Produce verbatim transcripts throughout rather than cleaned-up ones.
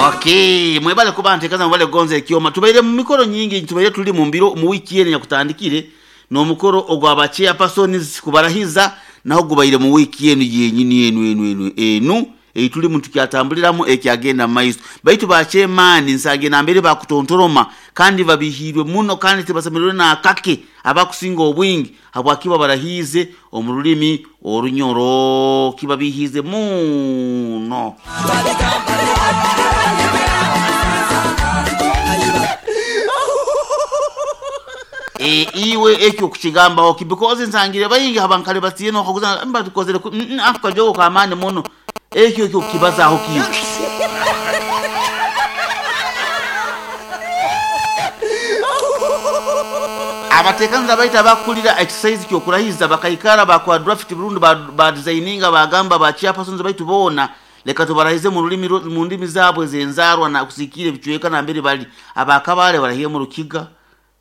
Okay, mwebale kuba nteekaza, mwebale kugonza ekyoma. Tubaire mu mikoro nyingi, tubaire tuli mu mbiro mu wiiki eno nyakutandikire n'omukoro ogwa chairpersons kubarahiza, naho gubaire mu wiiki eno yenyini enu enu enu enu ei tulimu tukyatambuliramu ekyagenda mu maiso. Baitu ba chairman nsange nambere bakutontoroma kandi babihirwe muno kandi tibasemererwe n'akake abakusinga obwingi habwakiba barahiize omu rulimi Orunyoro, kibabihiize muno. E, iwe ekyo kukigambaho ki? Because nsangire baingi abankale batiye nokaguza mba tukozere ku- mm, mm, ako kajogo kamaani muno, ekyo ekyo kukibazaaho kiwe. Abateekaniza baita abakulira exercise kyokurahiza bakaikara bakora draft burundu, ba, ba designinga, bagamba ba chairpersons baitu boona leka tubarahize mu rulimi ru- mu ndimi zaabwe zenzarwa na kusikira ebicweka nambere bali. Abakabale barahire mu Rukiga,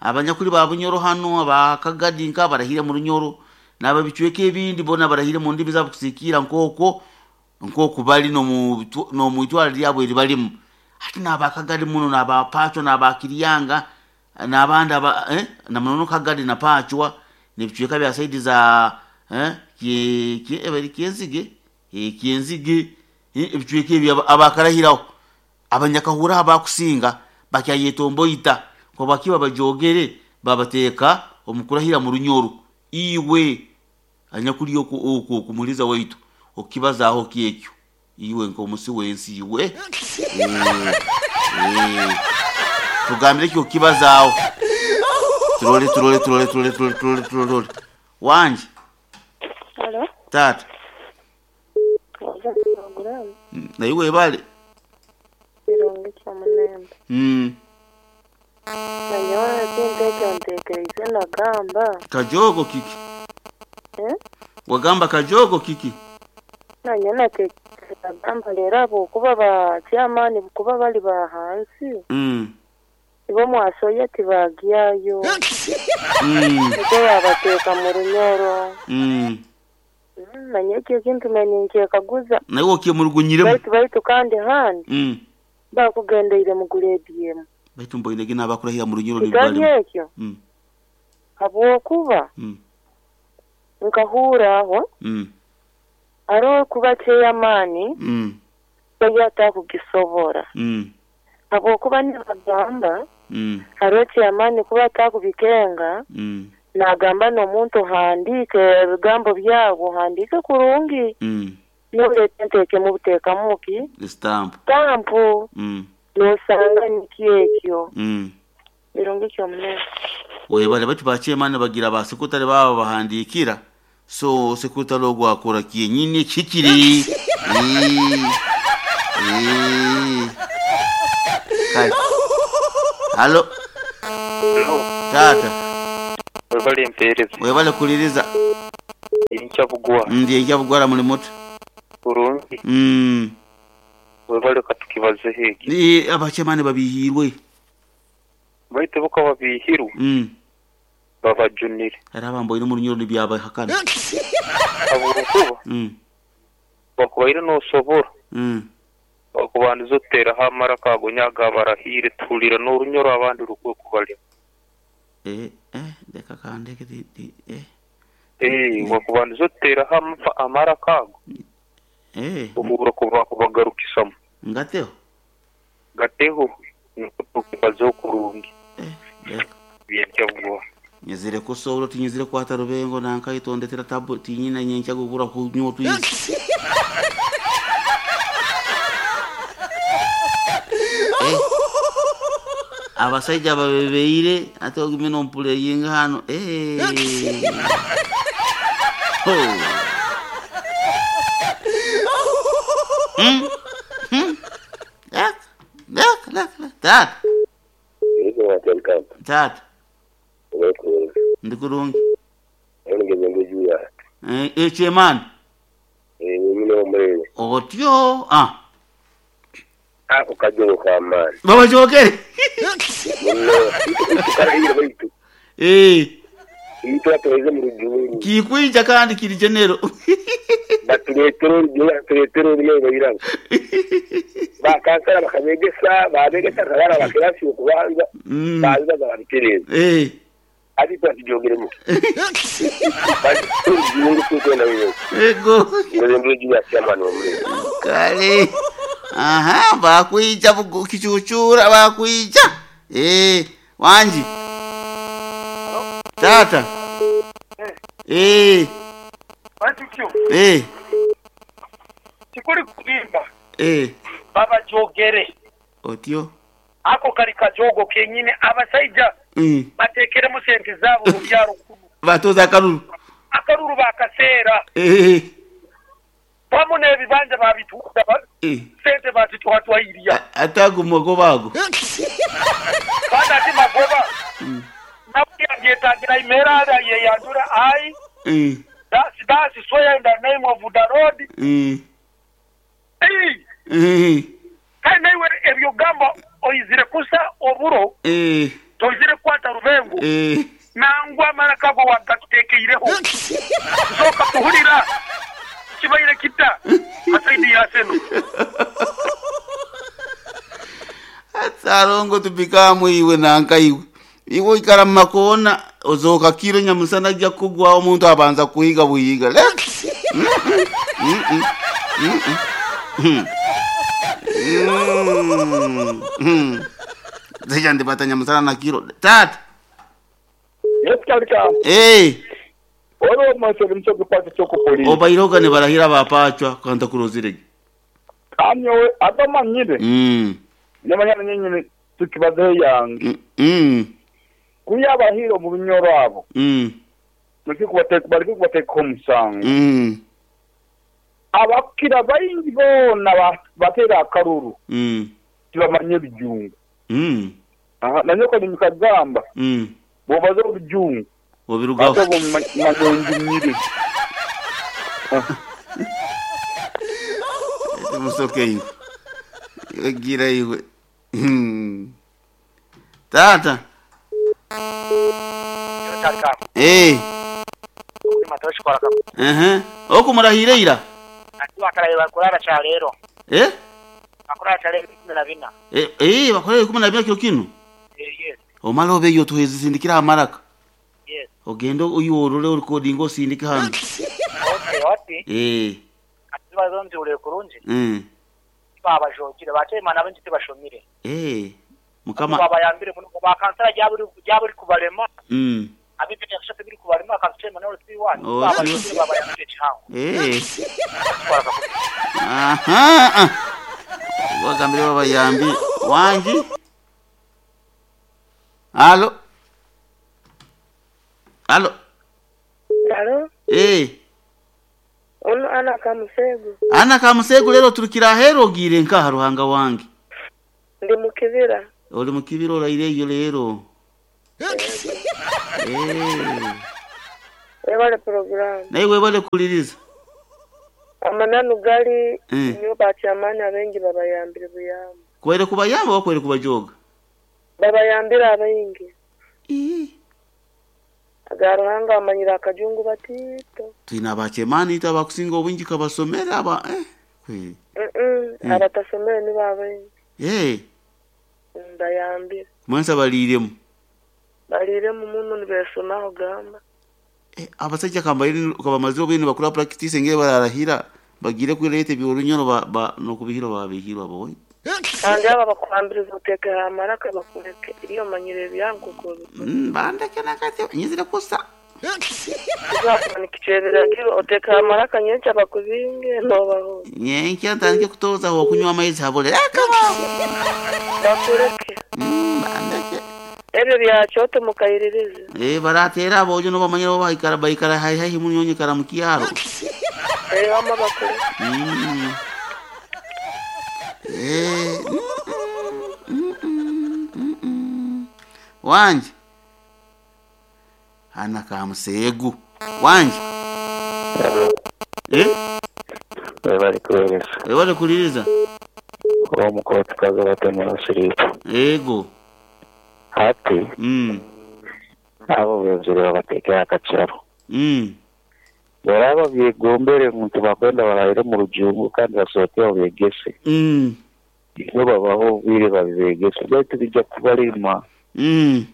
abanyakuli ba Bunyoro hano, abakagadi nka barahire mu Runyoro, n'ababicweka ebindi bona barahire mu ndimi zaabwe kusikira nk'okwo nk'oku bali n'omu n'omu itwara lyabwe eri balimu. Ate n'abakagadi muno n'abapacwa n'abakiryanga n'abandi aba eh, namunono Kagadi na Pacwa n'ebicweka bya side za eh, kie, kie, ebari Kyenzige, eh, Kyenzige, eh, ebicweka ebyo aba- abakarahiraho abanyakahura abakusinga bakyayetomboita kwabakiba bajogere babateeka omukurahira mu Runyoro. Iwe anyakuli oku oku okumuliza waitu okibazaaho kyekyo iwe nk'omusi w'ensi iwe, eh, eh, tugambire ekyo okibazaaho. Turole turole turole turole turole turole turole wanje. Halo, Taata. waza programu. Mm, naye webale. Kirungi kyamunembe. Mm, Nanyowe ekintu ekyo nteekereize nagamba. Kajogo kiki? Eh? Wagamba kajogo kiki? Nanyowe nateekereize nagamba leero ahabwokuba ba chairman kuba bali ba hansi, mm. ibo mwasoya tibagyayo. Mm. Nikwo babateeka mu Runyoro. Mm. Mm, Nanyowe ekyo ekintu nanye nkyekaguza. Naye okyemurugunyiremu. Baitu baitu kandi handi mm. bakugendeire mu grade emu. Baitu mboinege n'abakurahira mu Runyoro Kitari nibalimu. ekyo mm. habwokuba mm. nkahuura aho mm. hariho kuba chairman mm. bari atakugisobora mm. habwokuba nibagamba mm. hariho chairman kuba atakubikenga, mm. nagamba n'omuntu ohandiike ebigambo byabo, ohandiike kurungi, mm. noleeta enteekemu buteekamu ki stamp stampu, mm. nosanga nikyo ekyo. mm. Birungi kyomunene. Webale. Baitu ba chairman bagira ba secretary babo bahandikira, so secretary ogwo akora kyenyini kikiri. Eh, eh. Kale halo. Taata. Webale empeereza. Webale kuliriza. Enkyabugwa. Ndi enkyabugwara muli muto? Kurungi. mm. Webale, katukibazeho eki. Ni abachairman babihirwe. Baitu buka babihirwe, mm. babajunire. Era abamboine mu Runyoro nibyabahakana. Habwokuba mm. bakubaire nosobora mm. bakubandiza oteraho amara kagonya agabarahire tuhulira n'Orunyoro abandi rukwe kubalema. Eh, eh, leka kandeke ti, ti, eh. Eh, bakubandiza oteraho amafa- amara kago, Eh, ohurra kuba kubagarukisamu. Ngateho. Gateho niko tukibazeho kurungi. Eh, leka. Byenkyabugwa. Nyizire kusobola tinyizire kwata rubengo nankaitondetera tabu tinyina nyenkya gugura kunywa twizi. Eh. Abasaija babebeire ate ogume nompuleyinga hano. Eh. Ho. Mm. Mm. Lek, lek, lek, lek. Tata, tata, ndi kurungi. Eh, eh, chairman. Otyo. Ah. Ako kajogo kamaani. Babajogere. Muno tukarahira baitu Eh. Itwa tuheze mu rujungu. Kikwija kandi kiri genero. Batuleetera orujungu, batuleetera orurimi bayirabo. Bakansara bakabegesa, babegesa kabara bakirasi okubanza, Mm. baza babitereza. Eh. Ati twatijogeremu. Bati orujungu tukwenda wewe. Ego. Ngoze mruji ya chairman wa mure. Kale. Aha, bakwija bugu- kichuchura bakwija. Eh, wanji. Tata. Eh, Batukyo eh, tikuri kulimba eh. babajogere Otyo. ako kali kajogo kenyine abasaija Mm. batekeremu sente zaabo mu byaro kuno Batoza akalulu. akaruru bakaseera Eh, wamu n'ebibanja babitunda ba- eh. sente bazitwatwairya Atago magoba ago. kandi ati magoba nabyetagira imera yeyandura ai Eh, that's that's swear in the name of the Lord. eh, Ei, eh, kandi naiwe ebyo gamba oizire kusa oburo eh, toizire kwata rubengo eh. nangwa amara kago wagatutekeireho soka kuhurira kibaire kita asaidi yaseno Atsarongo tupikamu iwe nanka iwe. Iwe ikara mumakona ozoka kiro nyamusana ajja kugwawo omuntu abanza kuyiga buyiga. Leka. Mm, mm, mm, mm, mm. Mm, mm. Zeja ndibata nyamusana na kiro. Tata. Yes, kalika. Eh, Olwo masoro msoke pasi choko polisi. obairoga ne barahira bapachwa kanta kurozirege. Kamyo abamanyire. Mm. Namanyana nyenyene tukibaze yange. Mm. Mm. Kuya abahiro mu binyoro abo. Mm. Mureke kubateka bareke kubateka omusango. Mm. Abakira bayingi bona ba- batera akaruru Mm. tibamanye ebijungu. Mm. Aha, nanyo kali mukagamba Mm. bobaze obujungu Obirugaho. ate bomanyonjumire. Musoke iwe. Iwe gira iwe. Hmm. Tata. Eh. Eh. Okumurahira ira. bakurara cha rero Eh? bakurara cha rero ikumi na bina Eh, eh bakorera ikumi na bina kiro kino. yes Omala obe tuhezisindikira amaraka. yes Ogenda uyorore recording osindike hano. okay wati Eh. ati bazonzi kurungi Mm. babajogire batema nabo njiti bashomire Eh. Mukama. babayambire muno bakansara ryaburi ryaburi kubarema Mm. abipita kushaka biri kubarema akansema nawe siwani Oh, babajogire babayambire cyangwa Eh. Aha. Wagambire babayambi wangi. Alo. Alo. Alo, Eh. ono ana kamusego. Ana kamusego lero turukira hero gire nka ruhanga wange. Ndi mu kibira. Oli mu kibira oraire iyo lero. Eh. Webale program. Naye webale kuliriza. Amananu gali Mm. nyo bakyamani abengi babayambire buyamba. Kwere kubayamba wakwere kubajoga. Babayambire abaingi. Eh. Aga Ruhanga amanyira akajungu batito. Twina abachemani ita abakusinga obwingi kabasomera aba eh. Kwe. Mm -mm. Mm. Abatasomere nibo abaingi. Eh. Mm, Bayambire. Mwensa baliremu. Baliremu muno nibesomaho gamba. Eh, abasajja kambaire kabamazire obwine bakora practice ngere bararahira bagire kwirete byorunyoro ba, ba nokubihiro babihirwa boy. Kandi aba bakwambiriza uteke amaraka bakureke iyo manyire ebyangu kubi. Mm, bandeke nakati nyizire kusa. Tuzakumanika ekyebiragiro oteke amaraka nyenkya bakubinge nobaho. Nyenkya ntandike kutoza aho kunywa amaizi habule. Akaba. Bakureke. Mm, bandeke. Ebyo byakyoto mukayiririza. Eh, baratera abojo no bamanyira bo baikara baikara hai hai munyonyi kara mukiaro. Eh, wama bakureke. Mm. Eh. Mm, mm, mm, mm. Wanje. Ana kamusegu. Wanje. Eh? Webale kuweereza. Webale kuliriza. Omukooti kaza batema siriipu. Ego. Hati Mm. Abo benzire babateekera akacaro. Mm. Baraba byegombere muntu bakwenda barahire mu rujungu kandi basohoke babyegese. Mm. Nibo babaho obwire babibegese baitu bijja kubalema. Mm.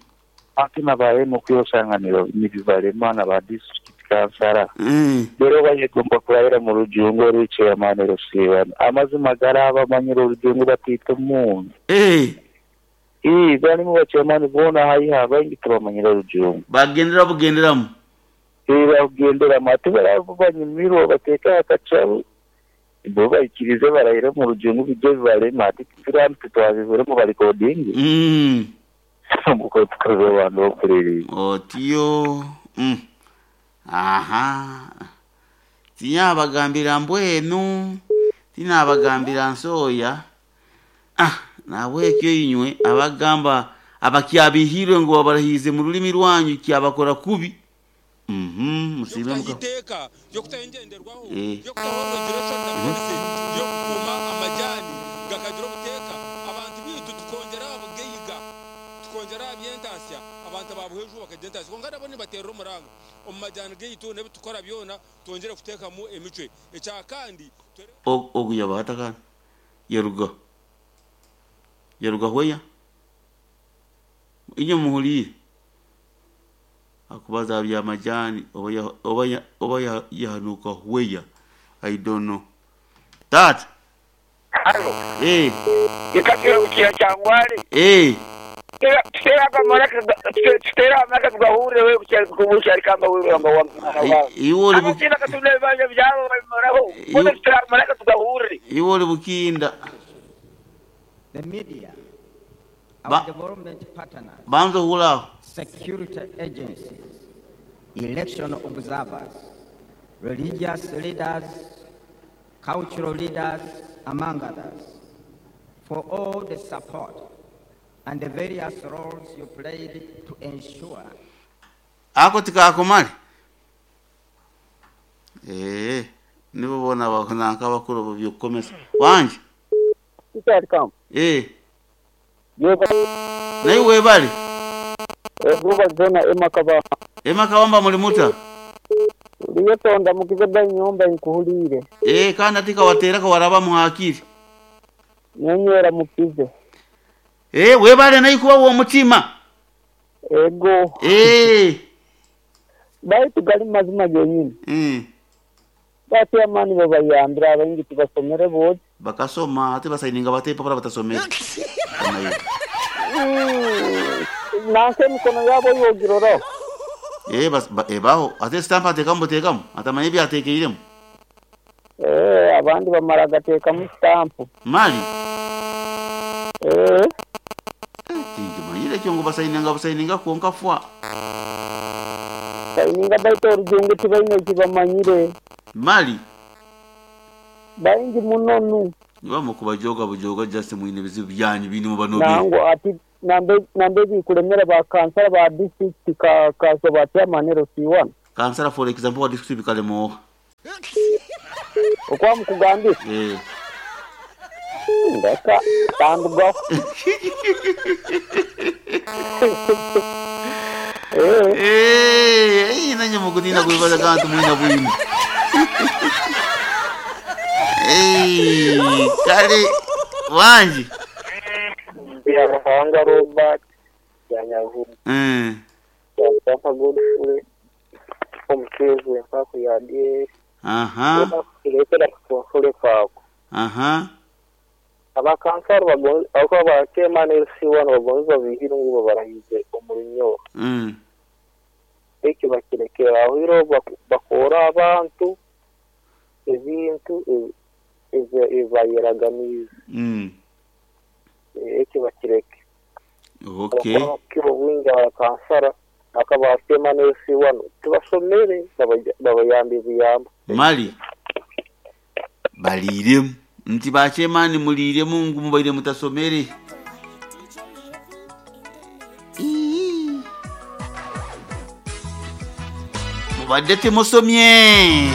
Ate nabaye okwosanga nibibalema na ba district kansara. Mm. Rero bayegomba kurahira mu rujungu oruchairman rusiibana. Amazima garaba bamanyire orujungu batiita omuntu. Eh. Ii barimu bachairman boona haiha baingi tibamanyire orujungu. Bagendera bugenderamu. Bagendera ate baraba banyumirwa bateeka akacaro bo baikirize barahire mu rujungu bijye bibarema ate turambi twabibiremu barikodingi. Mm. Muko tukaze abantu bokuririza. Otyo. Mm. Aha. Tinyabagambira mbwenu. Tinabagambira nsoya. Ah, nabwekyo inywe abagamba abakyabihirwe ngo babarahize mu rulimi rwanyu kyabakora kubi. Mhm, musibe muka. Iteka yo kutayengenderwaho Eh. yo kutaho regulation na policy yo kukuma amajani gakagira obuteka abantu bitu tukongera abugeyiga tukongera abyentasya abantu babuheju bakagentasya konka nabo nibaterera omuranga omu majani geitu nebitukora byona twongere kutekamu emicwe ekya kandi Ogu yabata kana. Yaruga. Yaruga hweya. Inyo muhuliire. Akubaza bya majani oba ya oba ya oba ya yahanuka hweya. I don't know. That. Halo. Eh. Ikatira ukira cyangwari. Eh. Tutera amaraka tutera amaraka tugahurire we kucyari kubucyari kamba wewe ngo wa Iwo uri bu Abatina katune banje byabo babimoraho. Bose tutera amaraka tugahurire. Iwo uri bukinda. The media, our Ba development partners, Banzo hula. security agencies, election observers, religious leaders, cultural leaders, among others, for all the support and the various roles you played to ensure Ako tikakomale. Eh, nibo bona bakonanka bakuru byokomesa. Wanje. Kikyali Eh. Yeba Naye webale. Ebuba zona emakaba. Emakabamba muli muta. Liyetonda mukize ba nyumba nkuhulire. Eh, kandi atika watera ko waraba muhakiri. Nyenyera mukize. Eh, webale naye kuba wo mutima. Ego. Eh. Baitu gali mazima genyini. Mm. Bati amani babayambira abayingi tubasomere bose. Bakasoma ate basayininga bate papara batasomera. Mm. Nanse mikono yabo yogirora. Eh, bas ba, eh baho ate stamp atekamu tekamu atamanye byatekeiremu. Eh, abandi bamara gatekamu stamp. Mali. Eh. Tingi manyire kyo ngo basayininga basayininga konka fwa. Sayininga baito orujungu tibaine kibamanyire. Mali. Baingi munonu. Niba mukubajoga bujoga just mwine bizibu byanyu bini mu banobe. Nango ati nambe nambe bikulemera ba kansara ba district ka ka so ba chairman C one. Kansara for example wa district bikalemo. Okwa mukugambira. Eh. Ndeka tanduga. Eh. Eh, nanye mukutina kuibaza kantu mwina bwino. Eh, kale wanji. Ya Ruhanga Robert ya Nyavubu. Eh. Ya Papa Godfrey. Omukeezi empako ya D. Aha. Kirekera kutunsule kwako. Aha. Abakansara bagonza ako ba chairman L C one bagonza bihira ngo barahize omurinyo. Mm. Eki bakirekera aho iro bakora abantu ebintu ebayeraganiza. Mm. Eki bakireke. Okay. Kiro bwingi abakansara akaba chairman L C one tubasomere babayambi buyamba. Mali. Baliremu. Nti ba chairman mulire mungu mubaire mutasomere. Mubadde temusomye.